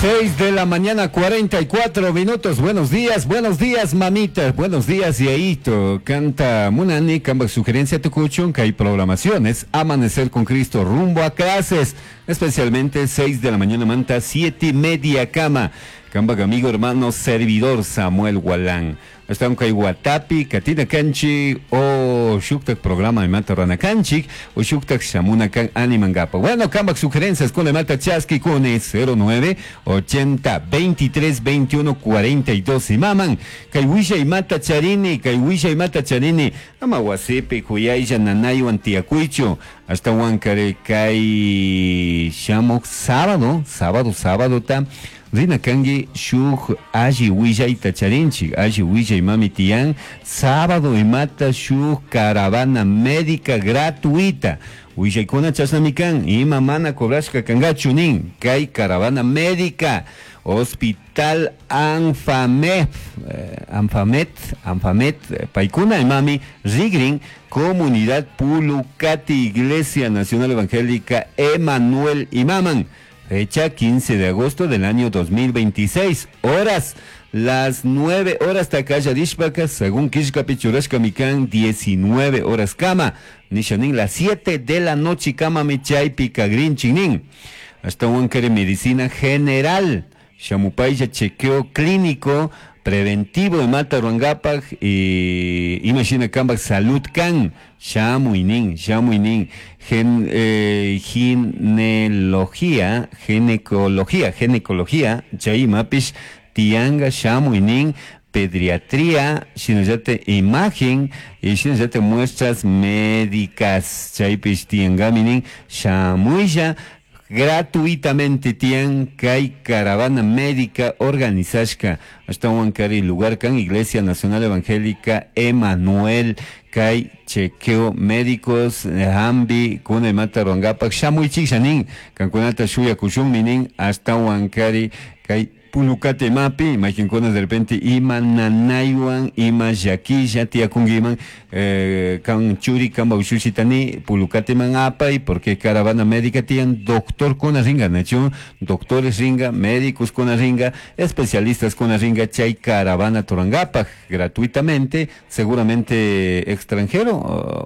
6 de la mañana, 44 minutos. Buenos días, mamita. Buenos días, Yaito. Canta Munani, camba sugerencia tucuchun, que hay programaciones. Amanecer con Cristo rumbo a clases. Especialmente 6 de la mañana, manta, 7:30 cama. Camba amigo, hermano, servidor Samuel Gualán. Hasta un Guatapi, Katina Kanchi, o Shuktak programa de Mata Rana Kanchik, o Shuktak Shamuna Kan Animangapa. Bueno, Kambak sugerencias con Mata Chaski con 09 80 23 21 42 y maman. Kaiwisha y Mata Charini, Kaiwisha y Mata Charini, ama wasipi, Kuyaya, Nanayuan, Tiacuicho, hasta Huancare, Kai Shamok, sábado, sábado, sábado, ta. Rina kangi shuk alli willayta charinchik, alli willay mami tiyan, sábado imata shuk caravana médica gratuita. Willaykuna chashnami kan, ima mana cobrashka kangachu nin, kay caravana médica, Hospital Anfamet, Anfamet, Anfamet, paykuna imami rigrin, Comunidad Pulucati, Iglesia Nacional Evangélica Emanuel Imaman. Fecha 15 de agosto del año 2026, horas, las 9 horas takaya dishpaka, según Kishkapi churashka mikan, 19 horas kama, nishanin, las 7 de la noche kama michaypi kagrinchinin. Hasta un medicina general, shamupaya chequeo clínico, preventivo de mata ruangapak y imagina kambak salud kan, shamuinin, shamuinin, gen, gineología, ginecología, ginecología, chay mapish, tianga, shamuinin, pediatría, shinayate imagen y shinayate muestras médicas, chaypish tiangaminin, shamuilla, gratuitamente tian kay caravana médica organizashka hasta Huancari lugar kan Iglesia Nacional Evangélica Emanuel kay chequeo médicos hambi kuna mata ruangapak shamuichik shanin kankunata shuya kushun minin hasta Huancari kay Pulucate mapi, imaginkuna de repente ima nanaywan, ima llaquilla, tiakungiman, kan churi, kan baushushitani, Pulucate man apay, porque caravana médica tian doctor con ringa, nacho, doctores ringa, médicos con ringa, especialistas con ringa, chay caravana torangapa, gratuitamente, seguramente extranjero,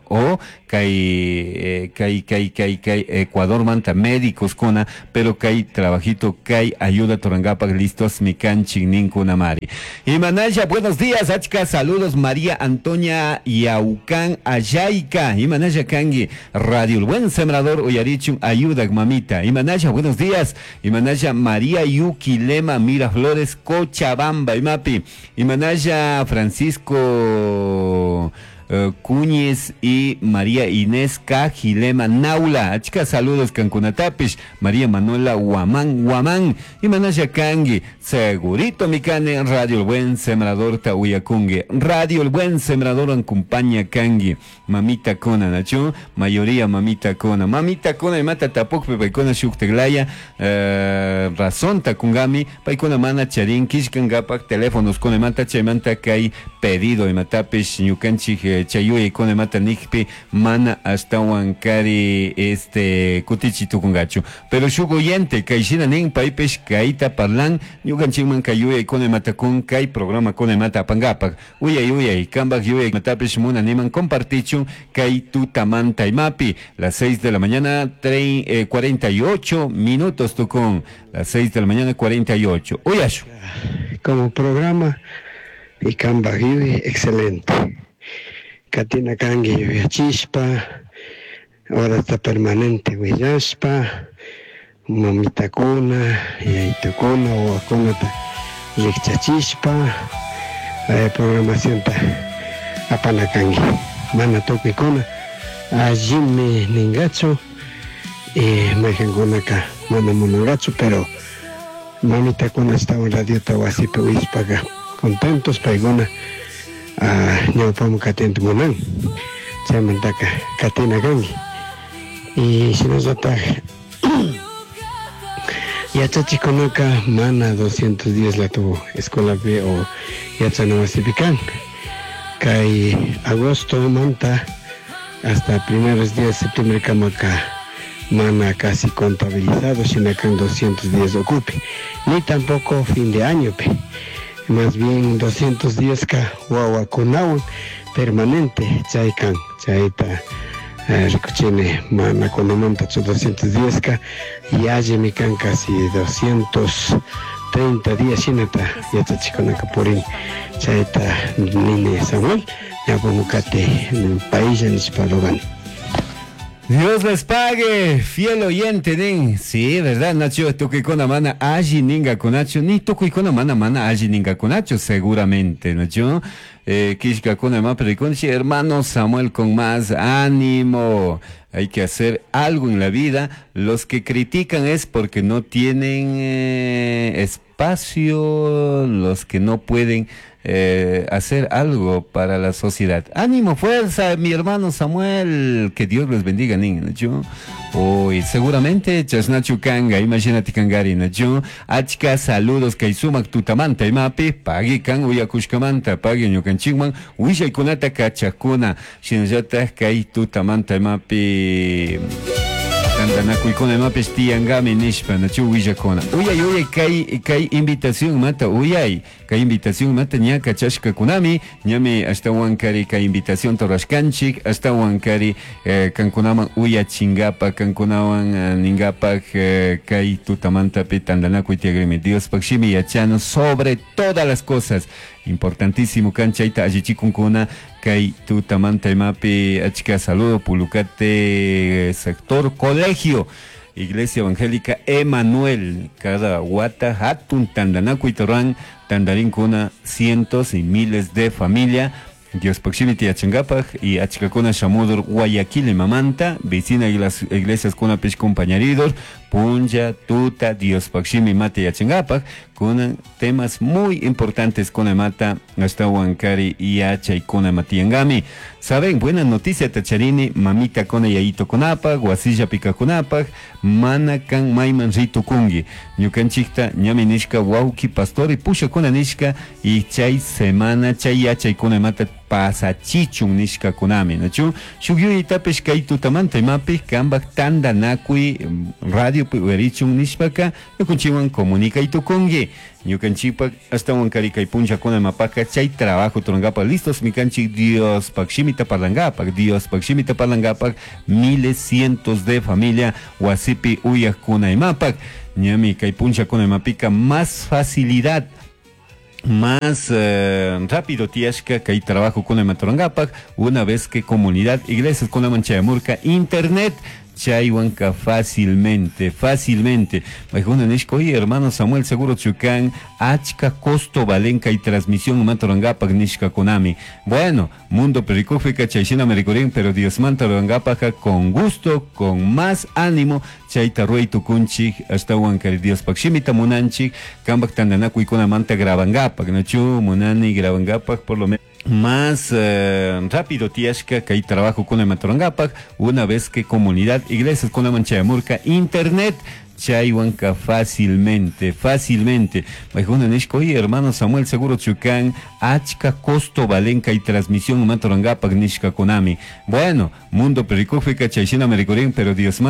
o kay, kay, kay, kay, kay, Ecuador manta médicos cona, pero kay trabajito, kay ayuda torangapa, listo. Mikanchik ninkunamari. Y Manaya, buenos días, achka, saludos María Antonia Yaucán Ayayka. Y Manaya Kangi, Radio El Buen Sembrador, Uyarichun, ayuda, mamita. Y Manaya, buenos días. Y Manaya María Yuki Lema Miraflores, Cochabamba, Imapi. Y Manaya Francisco Cuñez y María Inés Cajilema Naula. Achka saludos Cancunatapish, María Manuela Guamán Guamán y Manaya Kangui. Segurito mikane Radio El Buen Sembrador Tahuyakungue. Radio El Buen Sembrador acompaña Kangui. Mamita Kona, Nacho. Mayoría Mamita Kona. Mamita Kona y Mata Tapuk, Pepaikona Shukteglaya. Razón Takungami. Paikona Mana Charín, Kishkangapak, teléfonos con Mata Chaymanta Kai pedido y Matapish, Ñukanchij chayuy con mata nikpi mana hasta huancari este kutichi tukungachu pero shuk oyente kayshina nin paypish kayta parlan ñukanchikman kayuyay con mata kun kay programa con mata apangapak uyay uyay kambak yuyay matapish muna niman compartichun kay tutamanta imapi las 6 de la mañana 48 minutos tukun las 6 de la mañana 48 uyashu como programa y kambak yuyay excelente. Katina kangi yuyachispa, ahora está permanente willaspa, mamitakuna, yaytukuna, wawakunata rikchachispa, programacionta apana kangi. Mana tukuykuna allimi ningachu, mayqankunaka mana munangachu, pero mamitakuna estaban radiota wasipi uyashpaka contentos paykuna. Ñawpaman katinta munan chaymantaka katina kanki y shinallataj yachachikunaka mana 210 la tuvo escuelapi o yachana wasipi kan kay agosto manta hasta primeros días de septiembre kamaka Mana casi contabilizado shina kan 210 ukupi, ni tampoco fin de añopi. Más bien 210 ka wawakunawan permanente chay kan, chayta rikuchini mana kunamantachu 210 ka yallimi kan casi 230 días shinata yachachikunaka purin. Chayta nini Samuel, ñapamukati paella nishpa rogani. Dios les pague, fiel oyente, nin. Sí, ¿verdad, Nacho? Tukuykuna mana alli ningakunachu, ni tukuykuna mana mana alli ningakunachu, seguramente, Nacho. Kishkakuna ma perikunchi, hermano Samuel, con más ánimo. Hay que hacer algo en la vida. Los que critican es porque no tienen espacio, los que no pueden hacer algo para la sociedad. Ánimo, fuerza, mi hermano Samuel. Que Dios les bendiga, niño. Hoy seguramente chasnachu kanga, imagínate kangari, nacho. Achka saludos kay sumak tutamanta imapi, pagi kan uyakushkamanta, pagi ñukanchikman, willaykunata kachakuna, shinallata kay tutamanta imapi. Tantanakuykuna imapish tiyangami nishpa, nachu willakuna. Uyay, uyay, kay, kay invitación mata, uyay, kay invitación mata ña kachashkakunami, ñami ashtawan kari kay invitación torashkanchik, ashtawan kari kankunaman uyachingapa, kankunawan ningapak kay tutamantapi tantanakuy tiyagrimi. Diospak shimi yachano sobre todas las cosas. Importantísimo kan chayta allichikunkuna kay tutamanta imapi achka saludo Pulucate sector colegio Iglesia Evangélica Emanuel cada wata hatun tandanakuy torran tandarinkuna cientos y miles de familia Dios proximity yachangapak y achkakuna shamudur Guayaquil mamanta vecina iglesias kuna pich compañeridor punlla tuta Dios proximi mate yachangapak con temas muy importantes con mata hasta Huancari y hacha y con matiangami. Saben, buena noticia tacharini, mamita con yayito conapa, guasilla pica conapa, mana kan maiman rito kungi. Ñukanchikta ñami nishka wauki pastor y pusha con nishka y chay semana chay yachay con mata pasachichun nishka kunami, nachu? Shugyuy tapesh kay tutamanta imapi kambak tanda nakui radio puerichun nishpaka ñukanchiwan comunica y tukungi. Ñukanchikpak hasta Huancari kay puncha kuna mapaka chay trabajo turangapa listos mikanchik Dios pak shimita parlangapak Dios pak shimita parlangapak miles cientos de familia wasipi uyak kuna imapak ñami kay puncha kuna mapika más facilidad más rápido tiashka kay trabajo kuna maturangapak una vez que comunidad iglesias kuna manchayamurka internet chaywanka fácilmente, fácilmente. Maijuna nishka, oye, hermano Samuel, seguro chukan, achka costo valenka y transmisión matorangapak nishka konami. Bueno, mundo pericúfica, chayshina mericurín, pero Dios mantarangapaja con gusto, con más ánimo, chayta ruey tukunchik, hasta huancari Dios pakshimita munanchik, kambak tandanakuy kuna manta grabangapak, nachu munani grabangapak por lo menos. Más rápido tiashka kay trabajo con matorangapak una vez que comunidad iglesias con la manchayamurka internet chaywanka fácilmente, fácilmente. Maijuna nishka, oye, hermano Samuel, seguro chukan, achka costo valenka y transmisión matorangapak nishka konami. Bueno, mundo pericúfica, chayshina mericurín, pero Dios manda.